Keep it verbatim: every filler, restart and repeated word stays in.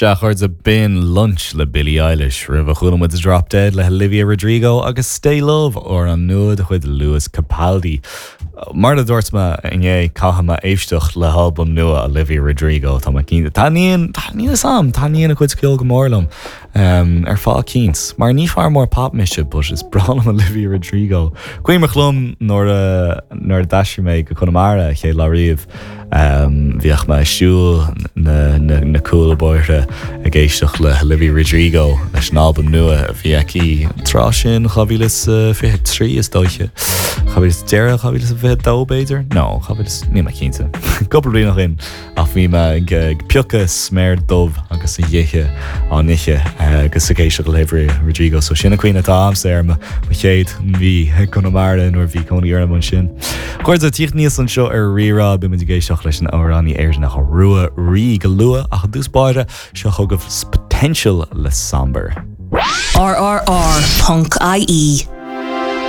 Sea, a chairde, b'in Lunch le Billie Eilish roimhe chuala muid Drop Dead le Olivia Rodrigo agus Stay Love amhrán nua de chuid Lewis Capaldi. Mar a dúirt mé inné caithfidh mé éisteacht le halbam nua Olivia Rodrigo tá cín Taníon Taníon sam taníon a chuid ceoil go mór liom um, ar fáth eicínt. Mar ní fear mór pop mise but is breá liom Olivia Rodrigo. Cuimhin liom nuair nuair a d'aistrigh mé go Conamara chéad lá riamh. Um, bhíodh mé ag siúl na, na, na cúlbhóithre ag éisteacht le Olivia Rodrigo leis an albam nua a bhí aici tráth sin dhá mhíle fiche trí is dóiche. deireadh dhá mhíle fiche dó b'fhéidir? No níl mé cinnte. Cúpla bliain ó shin ach bhí mé ag ag piocadh sméar dubh agus a ithe á n-ithe agus ag éisteacht le Olivia Rodrigo, so sin an cuimhne atá agamsa ar mo chéad mhí Conamara nuair bhí cónaí orm ansin. Cuid tíocht níos anseo ar Rí-Rá beimid ag éisteacht leis an amhránaí Éireannach Rua Rí go luath ach i dtús báire seo chugaibh Potential le Somber. RRR.ie